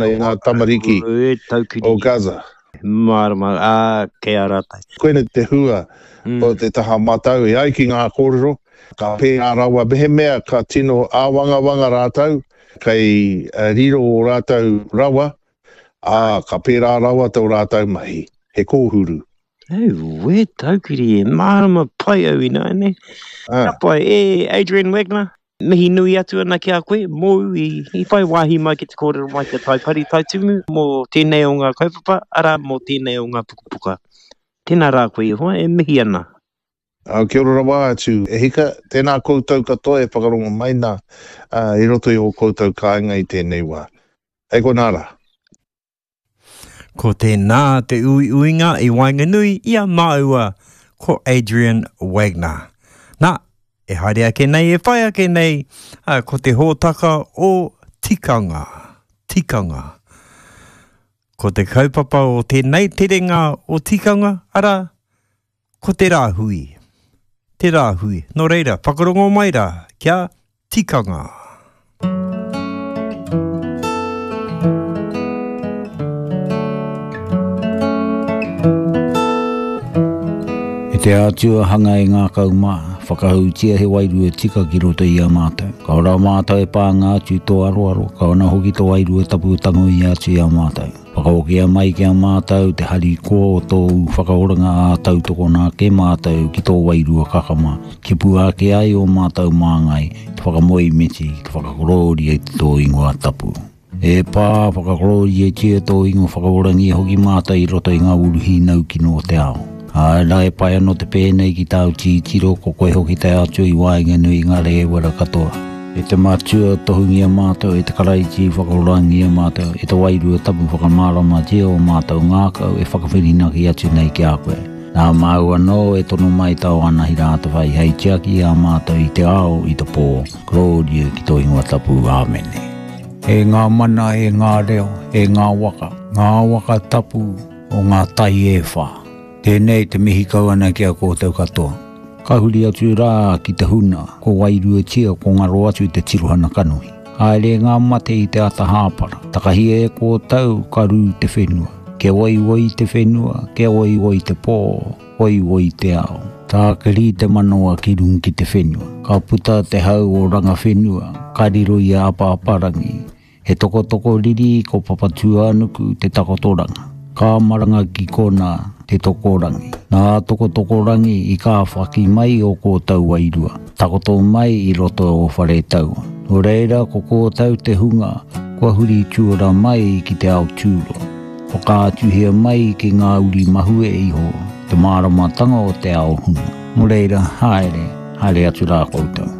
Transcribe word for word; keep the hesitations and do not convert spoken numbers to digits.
I ngā tamariki o Gaza. Mārama, ā, kei a rātou. Koinei te hua o te taha matau e ai ki ngā kōrero, ka pērā rawa mehemea ka tino āwangawanga rātou, kei riro ō rātou rawa, ā, ka pērā rawa tō rātou mahi, he kōhuru. Auē, taukiri e, mārama pai au ināianei. Ka pai, e Adrian Wagner, mihi nui atu ana ki a koe, mōu i, i whai wāhi mai ki te kōrero mai ki a Taipari Taitumu mō tēnei o ngā kaupapa, arā, mō tēnei o ngā pukapuka. Tēnā rā koe e hoa, e mihi ana. Kia ora rawa atu e hika, tēnā koutou katoa e whakarongo mai nā i roto i ō koutou kāinga i tēnei wā. Hei konā rā. Ko tēnā te uiuinga i waenganui i a māua ko Adrian Wagner. Nā, e haere ake nei, e whai ake nei, ko te hōtaka o Tikanga. Tikanga. Ko te kaupapa o tēnei terenga o Tikanga, arā, ko te rāhui. Te rāhui. Nō reira, whakarongo mai rā, kia tikanga. E te Atua hanga e ngākau mā, whakahautia he wairua tika ki roto i a mātou. Ka ora mātou e pānga atu i tō aroaro, ka ona hoki tō wairua tapu tangoia atu i a mātou. Whakahokia mai ki a mātou te harikoa o tōu whakaoranga ā tautokona ake mātou ki tō wairua kakama, kia pua ake ai ō mātou māngai, te whakamoemiti, te whakakorōria i tō ingoa tapu. E Pā, whakakorōriatia tō ingoa whakaorangia hoki mātou i roto i ngā uru hīnau kino o te ao. Āe rā, e pai anō te pēnei ki tāu titiro, ko koe hoki te Atua i waenganui i ngā rēwera katoa. E te Matua, tohungia mātou, e te Karaiti, whakaorangia mātou, e te Wairua Tapu, whakamāramatia ō mātou ngākau e whakawhirinaki atu nei ki a koe. Nā māu anō e tono mai tāu anahira atawhai hei tiaki i a mātou i te ao, i te pō. Korōria ki tō ingoa tapu. Āmene. E ngā mana, e ngā reo, e ngā waka, ngā waka tapu o ngā tai e whā. Tēnei te mihi kau ana ki a koutou katoa. Ka huri atu rā ki te huna, ko wairuatia, ko ngaro atu te tirohana kanohi. Haere ngā mate i te ata hāpara, takahia e koutou ka rū te whenua. Kia waiwai te whenua, kia waiwai te pō, waiwai te ao. Tākiri te manawa ki runga ki te whenua. Ka puta te hau o Rangawhenua, ka riro i a Apaaparangi. He tokotoko riri ko Papatūānuku te takotoranga. Ka maranga ki kona te tokorangi. Nā Tokotokorangi i kāwhaki mai o kōtou wairua, takoto mai i roto o Wharetaua. Nō reira ko kōtou te hunga kua huri tuara mai ki te ao tūroa. Whakaatuhia mai ki ngā uri mahue iho te māramatanga o te ao huna. Nō reira, haere, haere atu rā koutou.